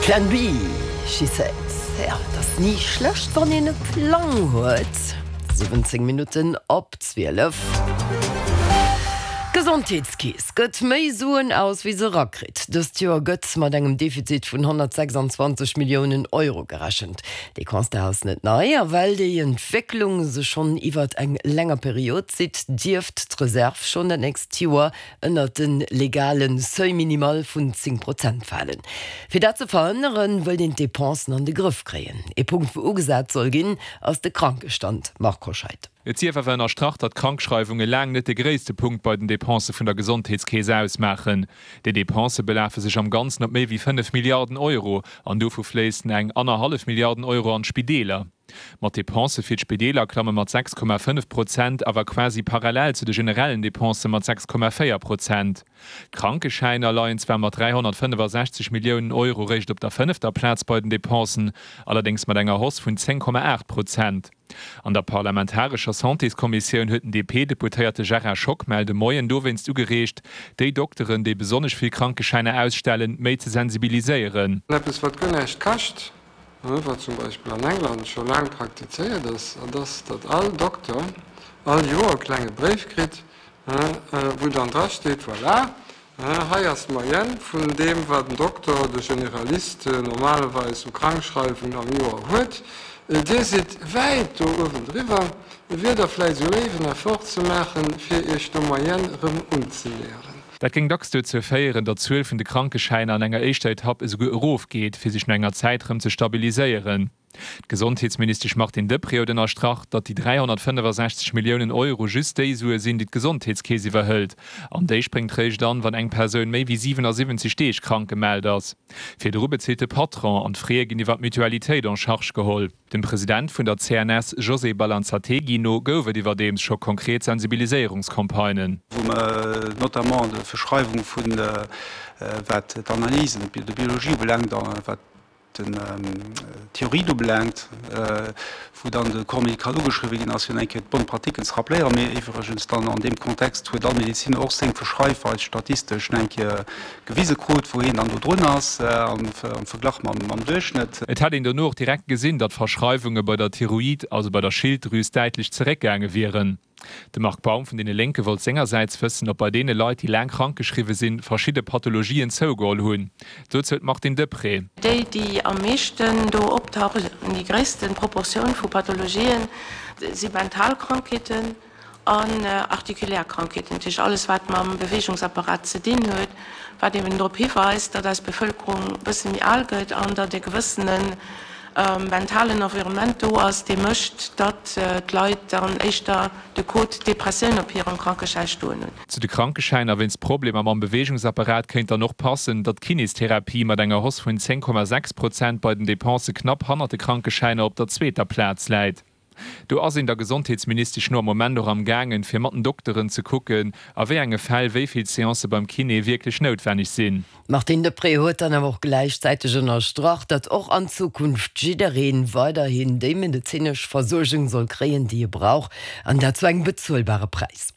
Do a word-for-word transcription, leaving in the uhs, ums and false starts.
Plan B, she said. Ja, et ass ni schlecht, wann een e Plang huet. siwwenzéng Minutten op zwielef. D'Gesondheetskeess gëtt méi Suen aus, wéi se erakritt. Dëst Joer gëtt mat engem Defizit vun honnertsechsanzwanzeg Milliounen Euro gerechent. Dee Constat ass net nei, a well déi Entwécklung sech schonn iwwert eng länger Period zitt, dierft d'Reserv schonn dat nächst Joer ënnert de legale Seuil minimal vun zéng Prozent falen. Fir dat ze verhënneren, wëllt een d'Depensen an de Grëff kréien. Ee Punkt, wou ugesat soll ginn, ass de Krankestand. Marc Hoscheid. Et sief awer ënnerstrach, datt Krankschreiwunge laang net de gréisste Punkt bei den Depensë vun der Gesondheetskeess ausmaachen. Déi Depensë belafe sech am Ganzen op méi wéi fënnef Milliarden Euro an dovu fléissen eng annerhallef Milliarden Euro an d'Spideeler. Ma d'Depensë fir d'Spideeler klamme mat sechs Komma fënnef Prozent awer quasi parallel zu de generellen Depensë mat sechs Komma véier Prozent. D'Krankeschäiner leien zwar mat dräihonnertfënnefasechzeg Milliounen Euro réischt op der fënnefter Plaz bei den Depensen, allerdéngs mat enger Hausse vun zéng Komma aacht Prozent. An der parlamentarescher Santéskommissioun huet den D P-Deputéierte Gérard Schockmel de Moien dowéinst ugereegt, déi Dokteren, déi besonnesch vill Krankeschäiner ausstellen, méi ze sensibiliséieren. Eppes wat guer näischt kascht, wat zum Beispill an England scho laang praktizéiert ass, dat ass, datt all Dokter all Joer e klenge Bréif kritt, wou dann drasteet, Voilà, hei ass d'Moyenne vun deem, wat den Dokter, de Generalist normalerweis u Krankschreiwung am Joer huet. Dir sidd wäit do uewendriwwer. Wier Der vläicht esou léif, en Effort ze maachen, fir Iech der Moyenne erëm unzenäheren? Dat géing dacks dozou féieren, datt d'Zuel vun de Krankeschäiner an enger éischter Etapp esouguer erofgeet, fir sech no enger Zäit erëm ze stabiliséieren. D'Gesondheetsministesch Martine Deprez huet ënnerstrach, datt déi dräihonnertfënnefasechzeg Milliounen Euro just déi Sue sinn, déi d'Gesondheetskeess iwwerhëlt. An déi spréngt réischt an, wann eng Persoun méi wéi siwenasiwwenzeg Deeg krank gemellt ass. Virdru bezilt de Patron an d'Fraie ginn iwwer d'Mutualitéit en charge geholl. Dem President vun der C N S José Balanzategui no gouf et iwwerdeems scho konkret Sensibiliséierungscampagnen. Wou mer notamment d'Verschreiwung vun, wat d'Analysen de biologie ubelaangt, wat d'Thyroïde ubelaangt, wou dann de Corps médical ugeschriwwen ginn ass, fir eng Kéier d'bonnes pratiquen ze rappléieren. Mee iwwregens dann an deem Kontext huet all Medeziner och seng Verschreifweis statistesch eng Kéier gewise krut, wou hien dann do drun ass am Verglach mam Duerchschnëtt. Et hätt een dono och direkt gesinn, datt d'Verschreiwunge bei der Thyroïde, also bei der Schilddrüs, däitlech zeréckgaange wieren. De Marc Baum vun deene Lénke wollt sengersäits wëssen, ob bei deene Leit, déi laang krankgeschriwwe sinn, verschidde Pathologien zougeholl hunn. Dozou d'Martine Deprez. Déi, déi am meeschten do optauchen, déi gréisste Proportioun vu Pathologien, si mental Krankheeten an artikulär Krankheeten, dat heescht alles, wat mam Beweegungsapparat ze dinn huet, wat eben drop hiweist, datt eis Bevëlkerung e bësse méi al gëtt an datt e gewëssene mentalen Environnement do ass, dee mécht, datt d'Leit dann éischter de Code Depressioun op hirem Krankeschäi stoen hunn. Zu de Krankeschäiner wéinst Problemer mam Beweegungsapparat kéint dann och passen, datt d'Kinestherapie mat enger Hausse vun zéng Komma sechs Prozent bei den Depensë knapp hannert de Krankeschäiner op der zweeter Plaz läit. Do ass een der Gesondheetsministesch no am Moment och am gaangen, fir mat den Dokteren ze kucken, a wéi enge Fäll wéi vill Seancë beim Kiné wierklech noutwenneg sinn. D'Martine Deprez huet dann awer och gläichzäiteg ënnerstrach, datt och an Zukunft jidderee weiderhin déi medezinesch Versuergung soll kréien, déi e brauch, an dat zu engem bezuelbare Präis.